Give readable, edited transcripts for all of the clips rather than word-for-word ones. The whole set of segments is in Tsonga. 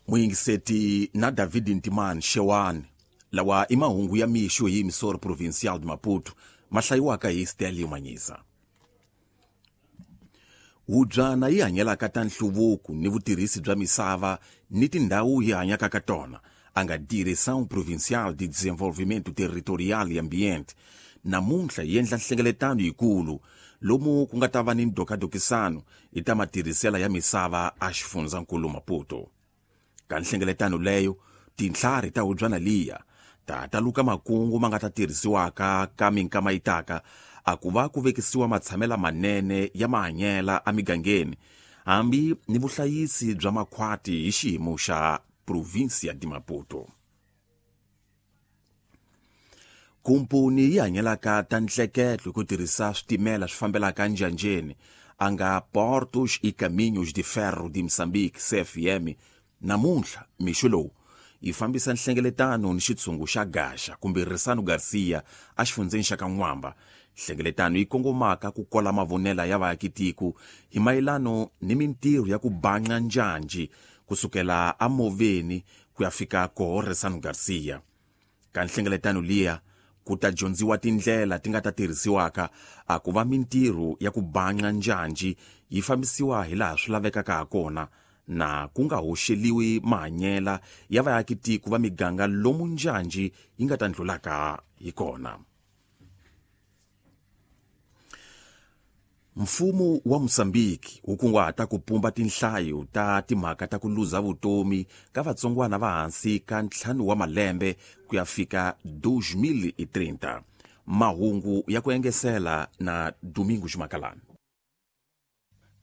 Muyingiseti na David Ntimani Xewani, lawa i mahungu ya mixo hi Emissora Provincial de Maputo ma hlayiwaka hi Stelio Manyisa. Hubyana yi hanyelaka ta nhluvuko ni vutirhisi bya misava ni tindhawu hi hanyaka ka tona a nga Direção Provincial de Desenvolvimento Territorial e Ambiente namuntlha yi endla nhlengeletano yikulu lomu ku nga ta va ni ndokadokisano hi ta matirhisela ya misava a xifundzankulu Maputo. Ka nhlengeletano leyo tintlhari ta hubyana liya ta ta luka makungu ma nga ta tirhisiwaka ka minkama yi taka a ku va ku vekisiwa matshamela manene ya mahanyela emigangeni hambi ni vuhlayisi bya makhwati hi xiyimo xa provinsia di Maputo. Kumpuni yi hanyelaka ta nhleketlo hi ku tirhisa switimela swi fambelaka njanjeni a nga Portos e Caminhos de Ferro de Moçambique CFM namuntlha mixo lowu yi fambisa nhlengeletano ni xitshungu xa Gaxa kumbe Risano Garcia exifundzeni xa ka N'wamba. Nhlengeletano yi kongomaka ku kola mavonela ya vaakitiko hi mayelano ni mintirho ya ku banca njanji kusukela amoveni ku ya fika koho Risano Garcia. Ka nhlengeletano liya ku ta dyondziwa tindlela ti nga ta tirhisiwaka a ku va mintirho ya ku banca njanji yi fambisiwa hi laha swi lavekaka ha kona na ku nga hoxeliwi mahanyela ya vaakitiko va miganga lomu njanji yi nga ta ndlulaka hi kona. Mfumo wa Mozambique wu kunguhata ku pumba tinhlayo ta timhaka ta ku luza vutomi ka vatsongwana va hansi ka 5 wa malembe ku ya fika 2030. Mahungu ya ku engesela na Domingos Makalani.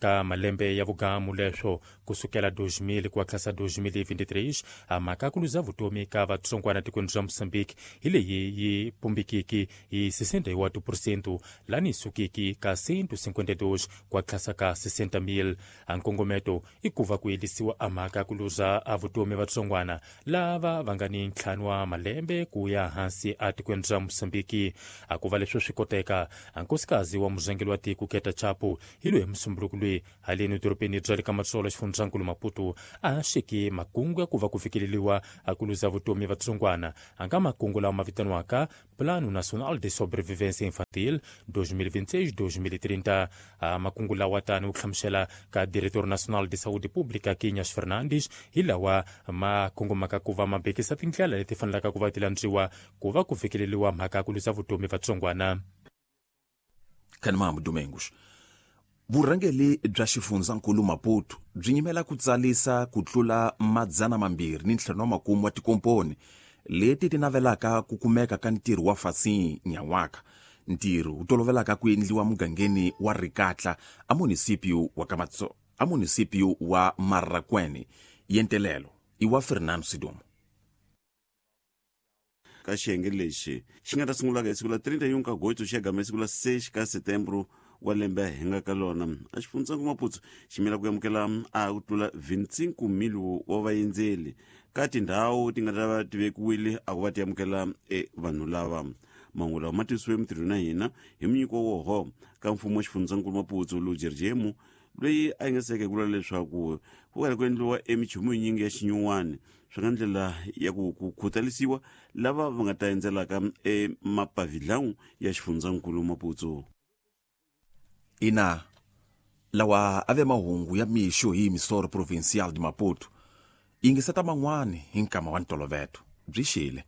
Ka malembe ya vugamu leswo kusukela 2000 ku tlhasa 2023 a mhaka ku luza vutomi ka vatsongwana tikweni ra Mozambique hi leyi yi pumbikiki hi 68% lani yi sukiki ka 152 ku tlhasa ka 60,000. A nkongometo i ku va ku yelisiwa a mhaka ku luza a vutomi vatsongwana lava va nga ni 5 wa malembe ku ya hansi a tikweni ra Mozambique. A ku va leswo swi koteka a nkosikazi wa murhangeri wa tiko Keta Chapo hi loyi musumbunuko loyi haleni dorobeni bya le ka Matsolo xifundzankulu Maputo a xeke makungu ya ku va ku fikeleriwa a ku luza vutomi vatsongwana a nga makungu lawa ma vitaniwaka Plano Nacional de Sobrevivência Infantil 2026-2030. A makungu lawa tani ku hlamusela ka Diretor Nacional de Saúde Pública Quinhas Fernandes hi lawa ma kongomaka ku va ma bekisa tindlela leti fanelaka ku va ti landziwa ku va ku fikeleriwa mhaka ya ku luza vutomi vatsongwana. Kanimambu Domingos. Vurhangeri bya xifundzankulu Maputo byi nyimela ku tsalisa ku tlula 250 wa tikomponi leti ti navelaka ku kumeka ka ntirho wa fasi nyan'waka. Ntirho wu tolovelaka ku endliwa mugangeni wa Rikatla a munisipio wa Kamatso a munisipio wa Marracuene. Yentelelo i wa Fernando Sidumo. Ka xiyenge lexi xi nga ta sungulaka hi siku la 31 ka Agosto xi ya gama hi siku la 6 ka Setembro wa lembe hi nga ka lona. A xifundzankulu Maputo xi mela ku amukela a ku tlula 25,000 wa vaendzeli ka tindhawu ti nga ta va ti vekiwile a ku va ti amukela e vanhu lava. Mahungu lawa ma tisiwe mintirhweni na hina hi munyiko woho ka mfumo wa xifundzankulu Maputo Lujerjemu loyi a yingiseke ku vula leswaku ku karhi ku endliwa emichumu yinyingi ya xinyuwani swi nga ndlela ya ku ku khutalisiwa lava va nga ta endzelaka emapavilhawu ya xifundzankulu Maputo. Ina, lawa a ve mahungu ya mixo hi Emissora Provincial de Maputo. Yingiseta man'wani hi nkama wa ntoloveto. Byi xile.